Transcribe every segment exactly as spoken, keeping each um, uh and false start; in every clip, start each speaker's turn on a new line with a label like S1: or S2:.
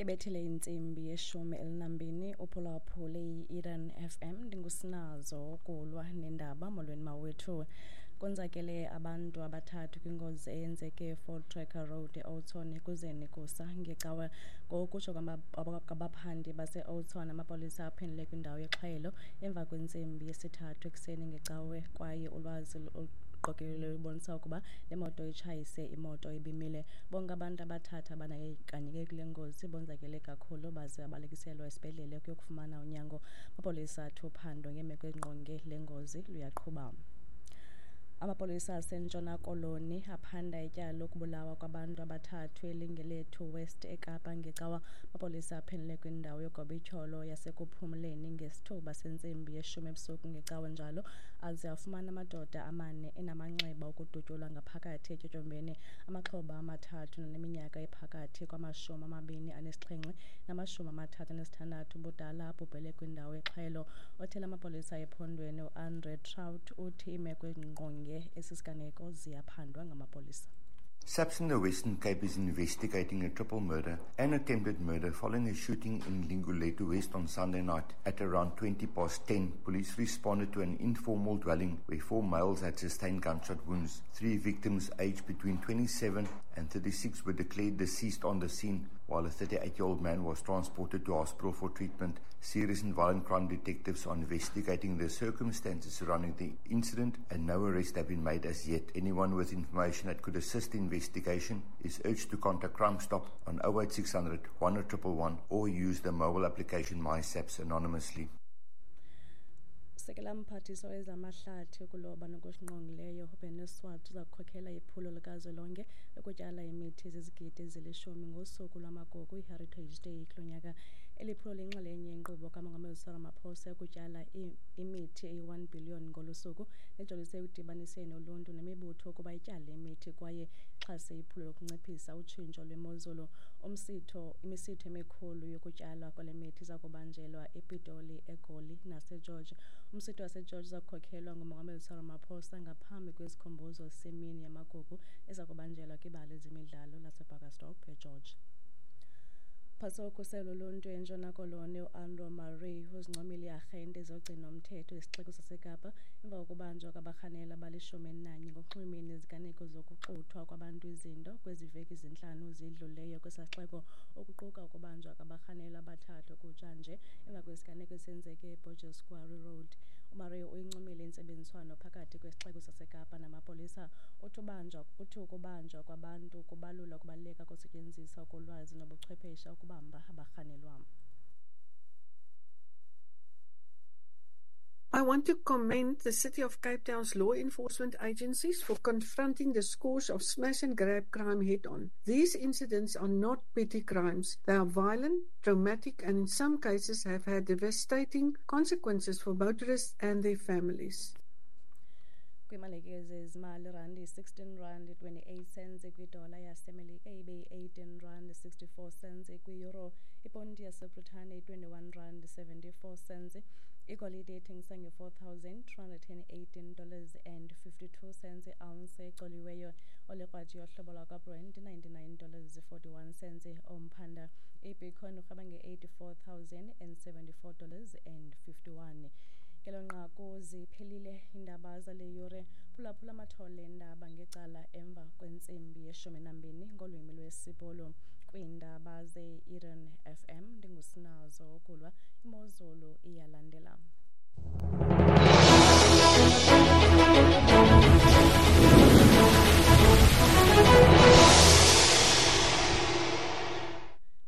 S1: Ibethile intsimbi yeshumi elinambini uphulaphule i-Eden F M ndingusinazo kulwa nendaba molweni mawethu. Konzakele abantu abathathu kwingozi eyenzeke eVoortrekker Road eOudtshoorn ekuzeni kusa ngecawe. Ngokutsho kwabaphandi baseOudtshoorn, amapolisa aphendule kwindawo yexhwayelo emva kwentsimbi yesithathu ekuseni ngecawe kwaye ulwazi oluqokelelweyo lubonisa ukuba le moto itshayise imoto ebimile. Bonke abantu abathathu abandakanyeke kule ngozi bonzakele kakhulu baze babalekiselwa esibhedlele ukuyokufumana unyango. Amapolisa athi uphando ngeemeko ezingqonge le ngozi luyaqhuba. Amapolisa aseNtshona Koloni aphanda ityala lokubulawa kwabantu abathathu eLingelethu West eKapa ngecawa. Amapolisa aphendule kwindawo yogobityholo yasekuphumleni ngesithuba sentsimbi yeshumi ebusuku ngecawa njalo aze afumana amadoda amane enamanxeba okudutyulwa ngaphakathi etyotyombeni. Amaxhoba amathathu naneminyaka ephakathi kwamashumi amabini anesixhenxe namashumi amathathu anesithandathu ubudala abhubhele kwindawo yexhwayelo. Othela amapolisa ephondweni uAndre Traut uthi imeko engqonge esi siganeko ziyaphandwa ngamapolisa.
S2: SAPS in the Western Cape is investigating a triple murder and attempted murder following a shooting in Lingulethu West on Sunday night. At around twenty past ten, police responded to an informal dwelling where four males had sustained gunshot wounds. Three victims aged between twenty-seven and thirty-six were declared deceased on the scene, while a thirty-eight-year-old man was transported to hospital for treatment. Serious and violent crime detectives are investigating the circumstances surrounding the incident, and no arrests have been made as yet. Anyone with information that could assist the investigation is urged to contact Crime Stop on oh eight six hundred, one oh one one one or use the mobile application MySAPS anonymously.
S1: Sekela mphathiswa wezamahlathi ukuloba nokusingqongileyo uBennie Swartz uza kukhokela iphulo likazwelonke lokutyala imithi ezizigidi ezilishumi ngosuku lwamagugu iHeritage Day kulo nyaka. Eli phulo liyinxalenye yenkqubo kaMongameli Cyril Ramaphosa yokutyala imithi eyi-one billion ngolu suku nejolise ekudibaniseni uluntu nemibutho ukuba ityale imithi kwaye ixhase iphulo lokunciphisa utshintsho lwemozulu. Umsitho, imisitho emikhulu yokutyalwa kwale mithi iza kubanjelwa ePitoli, eGoli naseGeorge. Umsitho waseGeorge uza kukhokhelwa nguMongameli Cyril Ramaphosa ngaphambi kwesikhumbuzo semini yamagugu eza kubanjelwa kwibala lezemidlalo laseBarkastop eGeorge. Mphathiswa wokhuselo loluntu eNtshona Koloni uAndrew Murray uzincomile iiarhente zogcino-mthetho isixeko saseKapa emva kokubanjwa kwabarhanelwa abalishumi elinanye ngokunxulumene neziganeko zokuxuthwa kwabantu izinto kwezi veki zintlanu zidlulileyo kwesaa sixeko, okuquka ukubanjwa kwabarhanelwa abathathu kutshanje emva kwesiganeko esenzeke eBorges Quarry Road. uMurray uyincomile intsebenziswano phakathi kwesixeko saseKapa namapolisa. Uthi ubanjwa uthi ukubanjwa kwabantu kubalula ukubaluleka kokusetyenziswa kolwazi nobuchwepheshe ukubamba abarhanelwa.
S3: I want to commend the City of Cape Town's law enforcement agencies for confronting the scourge of smash and grab crime head-on. These incidents are not petty crimes. They are violent, traumatic, and in some cases have had devastating consequences for motorists and their families.
S1: Kwimalike zezimali, randi sixteen rand twenty-eight cents kwidola yaseMelika ibe eighteen rand sixty-four cents kwi-euro, iponti yaseBritane twenty-one rand seventy-four cents. Igolide ithengisa nge-four thousand two hundred and eighteen dollars and fifty-two cents i-ounce ecoliweyo. Olekrwathi yohlobo lwakwaBrent ninety-nine dollars forty-one cents omphanda. IBitcoin urhweba nge-eighty-four thousand and seventy-four dollars and fifty-one. Ngelo nqaku ziphelile iindaba zale yure. Phulaphula amathole eendaba ngecala emva kwentsimbi yeshumi nambini ngolwimi lwesiBhulu. Kwiindaba ze-Eden F M ndingusinazo ukulwa imozulu iyalandela.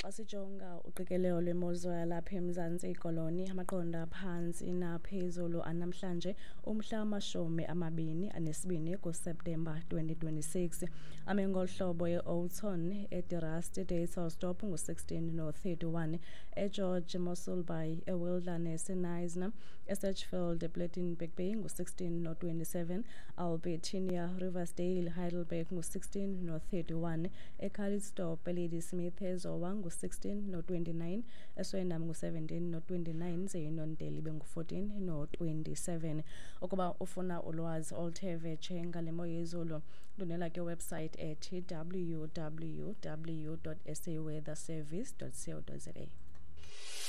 S1: Xa sijonga uqikelelo lwemozulu yalapha eMzantsi Koloni, amaqondo aphantsi naphezulu anamhlanje umhla wamashumi amabini anesibini kuSeptemba twenty twenty-six. Ame ngolu hlobo eOudtshoorn, eDe Rust, eDuyvelsdorp ngu-sixteen no-thirty-one, eGeorge, Mossel Bay, eWilderness, eKnysna, eSedgefield, ePlettenberg Bay ngu-sixteen no-twenty-seven, Albertinia, Riversdale, Heidelberg ngu-sixteen no-thirty-one, eCalitzdorp, eLadysmith, eZowa ngu ngu-sixteen no-twenty-nine, eSwellendam ngu-seventeen no-twenty-nine, ze iNondeli ibe ngu-fourteen no-twenty-seven. Ukuba ufuna ulwazi oluthe vetshe ngale mo yezulu, ndwendwela ke website ethi w w w dot s a weather service dot co dot za.